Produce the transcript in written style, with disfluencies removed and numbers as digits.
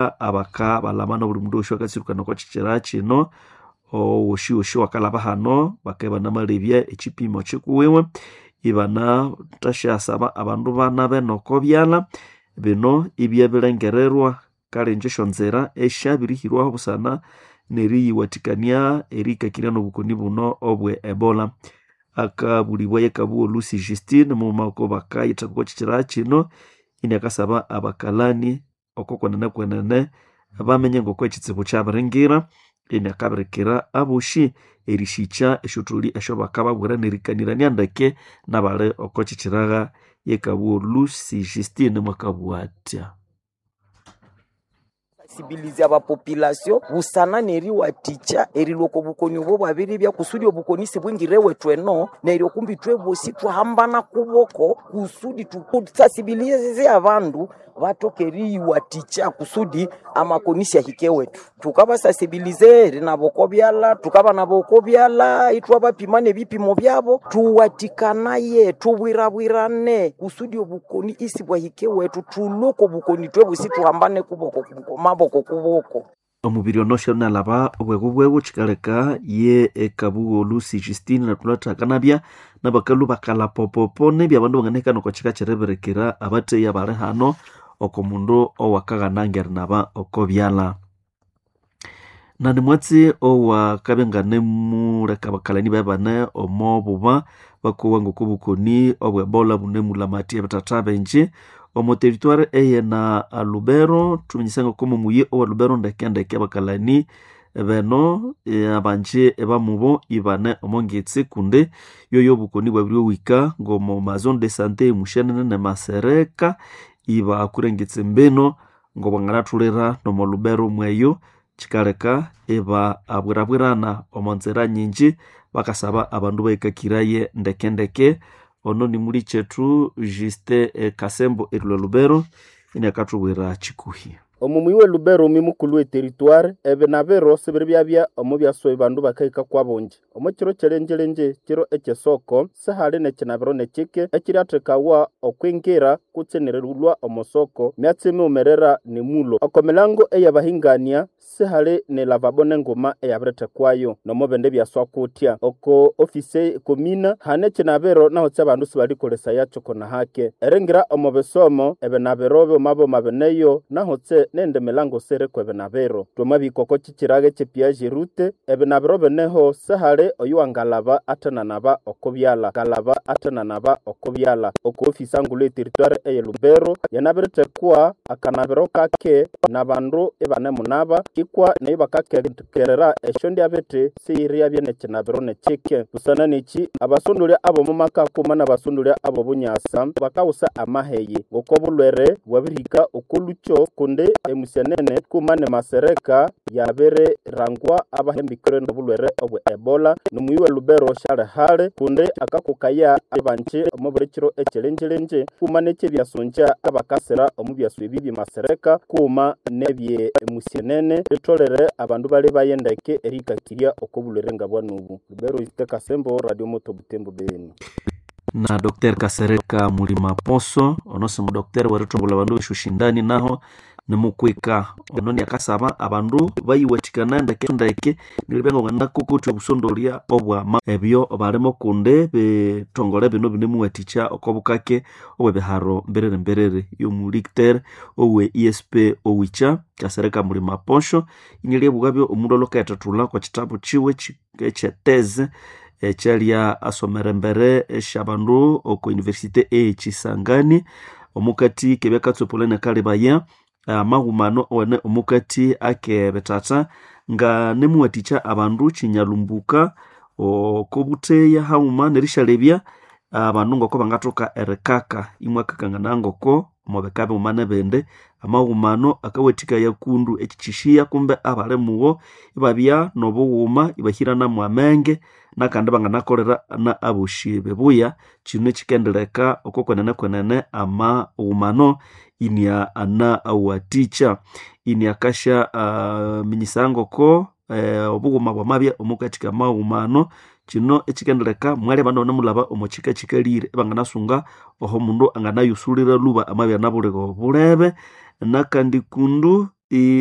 Abaka balama nobuli mundu wosi akatsirukana oko kyikyira kino owoshiwoshi wakalaba hano bakabya ibanamalebya ekyipimo kyikuwiwe ibanathashyasaba abandu banabe noko byalha. Bino ibyabirengererwa kale inje esyonzira esyabirihirwaho busana neriyiwathikania erihikakirya nobukoni buno obwe Ebola. Akabulibwa yekabugha Lucy Justine mughuma oko bakayithaka oko kyikyira kino iniakasaba abakalani oko kwenene kwenene bamenye ngoko ekitsibu kyabiringira iniakabirikira abosi erisikya esyotholi esyabakababwira nerikanirania ndeke nabali oko kyikyiraga yekabugha Lucy Justine mwakabugha athya. Sensibilizya abapopulation busana neriwathikya erilhwa oko bukoni obo bwabiribya kusudi obukoni sibwingire ewethu eno neryo kumbi ithwebosi ithwahambana kuboko kusudi thusensibilize abandu bathoke eriyiwathikya kusudi amakoni syahike ewethu. Thukabasensibilize erinaba oko byalha, thukabanaba oko byalha ithwabapima nebipimo byabo, thuwathikanaye, thubwirabwirane kusudi obukoni isibwahika ewethu, thulhwe oko bukoni ithwebosi thuhambane kuboko maboko kuboko. Omubiri ono syonalaba obwego bwego kyikaleka ye ekabugha Lucy Justine nathulathaka nabakalhu bakalha popopo nibya abandu banganahikana oko kyika kyeribirikira abatheyi abali hano oko mundu owakaghana ngerinaba oko byalha. Nandi mwatsi owakabya nganemuleka abakalani bebane omo buba bakowa ngoko obukoni obwe Ebola bunemulamathya ebithatha bingi omo territoire eyena Lubero. Thuminyisa ngoko omuyi owa Lubero ndekendeke abakalani beno abanji bamubo ibane omo ngetsi kundi yoyo obukoni bwabiryohika ngomo ma zone de sante emushenene ne Masereka ibakura engetsi mbino ngobwanganathulira nomo Lubero mweyo kyikaleka iba abwirabwirana omo nzira nyingi bakasaba abandu bahikakiraye ndekendeke. Ono nimuli kyethu Justin Kasembo erilhwa Lubero iniakathubwira kyikuhi. Omu muyi we Lubero omu mukulhu we territoire ebinabiro sibiribyabya omu byaswa bandu bakahika kwabungi. Omu kiro kyelenjelenje kiro ekyesoko sihali nekinabiro nekyike ekyiryathekawa okwingira kutse nerilhwa omo soko myatsi miwumerera nemulo. Oko milango eyabahingania sihali ne lavabo nenguma eyabirithekwayo nomo bindi byaswa kutya. Oko ofisi komina hane ekinabiro naho abandu sibalikolesayakyo konahake. Eringira omo bisomo ebinabiro byomaboma bineyo nahotse nende milango siriko ebinabiro. Twamabihika oko kyikyiraga ekye rute ebinabiro bineho sihali oyuwangalaba athenanaba oko byalha ngalaba athenanaba oko byalha. Oko ofisi angulhu ye territoire eye Lubero yanabirithekwa akanabiro kake nabandu ibanemunaba ikwa neyo bakakekerera esyondyabithi siyiryabya nekinabiro nekyike. Busana nekyi abasondolya abomu maka kuma nabasondolya abobunyasa bakawusa amaheyi ngoko obulhwere bwabirihika oko lukyo kundi emusyenene kuma ne Masereka yabirirangwa abahembikire nobulhwere obwe Ebola. Nomuyi we Lubero syali hali kundi akakokaya abanji omo buli kiro ekyelenjelenje kuma nekyebyasongya abakasira omu byaswa ebi bye Masereka kuma nebye musyenene litholere abandu balebaye ndeke erihikakirya oko bulhwere ngabwanubu. Lubero Justin Kasembo, Radio Moto Butembo Beni. Na Dr. Kasereka Mulima Poso ono si mudokiteri werithongolha abandu besyoshindani naho nimukwika ono niakasaba abandu bayiwathikana ndeke ndeke neribya ngabanganakokothya obusondolya obwama ebyo balimo kundi bithongole bino binemuwathikya oko bukake obwebiharo mbiriri mbiriri. Yomulikiteri owe ESP Owicha Kasereka Mulima Posho inialyabughabyo omundu alhwakayithathulha oko kyitabu kyiwe ekyeteze ekyalya asomera embere esyabandu oko university eye Kisangani omukati kebyakatsopolha inakalebaya amaghumano owene omukati akebithatha nga nemuwathikya abandu kyinyalumbuka oko butheya haghuma nerisyalebya abandu ngoko bangathoka erikaka imwakakangana ngoko omubika bighuma nebindi. Amaghumano akawathikaya kundu ekyikyishiya kumbe abali mugho ibabya nobughuma ibahiranamu amenge nakandi banganakolera na abosi bibuya. Kino kyikendireka oko kwenene kwenene amaghumano inia anawathikya iniakasya minyisa ngoko obughuma bwamabya omukati kamaghumano. Kino ekikendireka mwalya abandu abanamulhaba omo kyika kyikalire ibanganasunga oho mundu anganayusulira lhuba amabya inabulire obulebe. Nakandi kundu